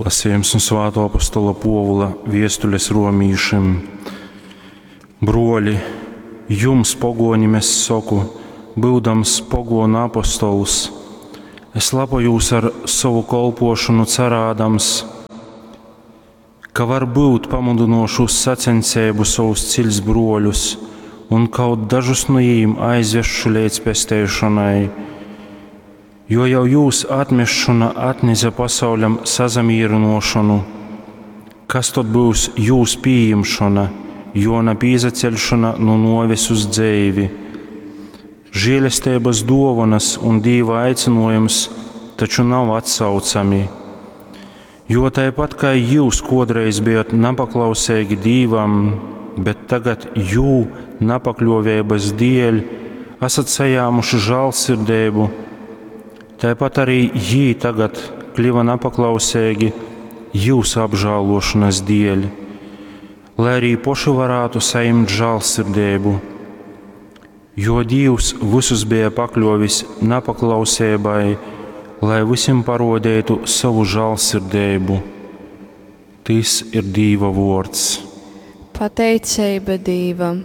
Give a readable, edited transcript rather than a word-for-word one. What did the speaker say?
Lasījums nu Svātō apostola Pōvula viestules romīšim. Bruoli, jums, pogonim, es soku, byudams pogonu apostols, es lepojūs ar sovu kolpošonu carādams, ka varbyut pamudynōšu uz saceņseibu sovus ciļts bruoļus un kaut dažus nu jīm aizvesšu leidz pesteišonai. Jo jau jūs atmešona atnese pasauļam sasamīrynōšonu, kas tod byus jūs pījimšona, jo na pīsaceļšona nu nōves uz dzeivi? Žēlesteibas dōvonas un Dīva aicinōjums taču nav atsaucami. Jo taipat kai jyus kōdreiz bejot napaklauseigi Dīvam, bet tagad jū napakļōveibas dēļ asat sajāmuši žālsirdeibu, taipat arī jī tagad kliva napaklauseigi jyusu apžālōšonas dēļ, lai arī poši varātu sajimt žālsirdeibu. Jo Dīvs vysus beja pakļōvis napaklauseibai, lai vysim parodeitu sovu žālsirdeibu. Tys ir Dīva vōrds. Pateiceiba Dīvam.